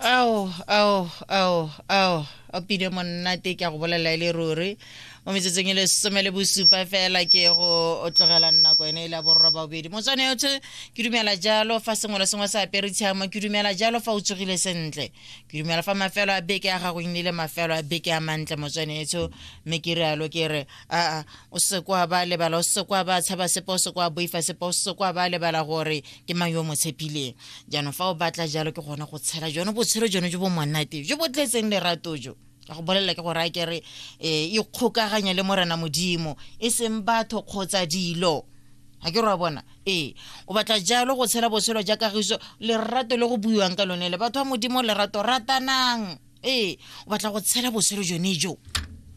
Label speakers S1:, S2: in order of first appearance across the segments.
S1: Ao, ao, ao, ao, a pine monnate ke a go bolelela e le ruri. Mo metsotsong e le some le bosupa fela ke go tlogela nako ene e le ya borra babedi. Motswane yotlhe ke dumela jalo fa sengwe le sengwe se apere tshiamo, ke dumela jalo fa o tsogile sentle. Ke dumela fa mafelo a beke a gago e nnile mafelo a beke a mantle motswane etsho, mme ke rialo ke re aa o se kwa ba lebala, o se kwa ba tshaba sepe, o se kwa boifa sepe, o se kwa ba lebala gore ke mang yo o mo tshepileng. Jaanong fa o batla jalo ke gone go tshela jone botshelo jone jo bo monate jo bo tletseng lerato jo. Ka go bolelela ke go raya ke re um ikgokaganye le Morena Modimo, e seng batho kgotsa dilo. Ga ke re wa bona? Ee, o batla jalo go tshela botshelo ja kagiso, lerato le go buiwang ka lone le batho ba Modimo, lerato, ratanang. Ee, o batla go tshela botshelo jone jo,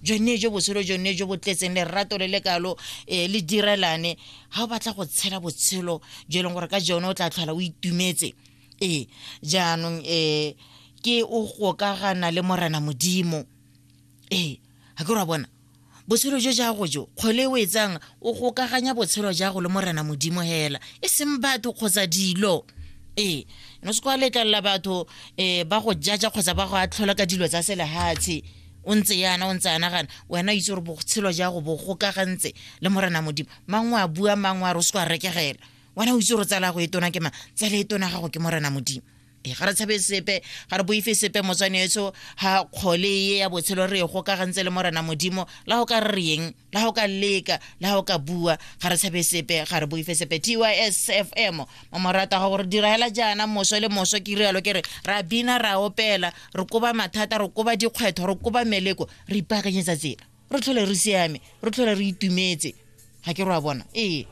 S1: jone jo botshelo jone jo bo tletseng lerato le le kalo, le direlane. Ga o batla go tshela botshelo jo e leng gore ka jone o tla tlhola o itumetse. Ee, jaanong ke o gokagana le Morena Modimo. Ee, ga ke re wa bona? Botshelo jo jago jo, kgwele e o e tsang, o gokaganya botshelo jago le Morena Modimo hela, e seng batho kgotsa dilo. Ee, no se kwa letlelela batho ba go jaja kgotsa ba go atlhola ka dilo tsa selehatshe. O ntse yana, o ntse a nagana, wena o itse gore botshelo jago bo gokagantse le Morena Modimo. Mangwe a bua, mangwe a re o se kwa rekegela. Wena o itse gore tsala ya go e tona ke mang? Tsala e tona gago ke Morena Modimo. Ee, ga re tshabe sepe, ga re boife sepe motswane etso, ga kgole e ya botshelo re e gokagantse le Morena Modimo, la go ka re reng, la go ka leka, la go ka bua, ga re tshabe sepe, ga re boife sepe. TYSFM, mamorata ga gore dira hela jaana moso le moso, ke rialo ke re ra bina, ra opela, re koba mathata, re koba dikgwetlho, re koba meleko, re ipaakanyetsa tsela, re tlhole re siame, re tlhole re itumetse. Ga ke re wa bona? Ee.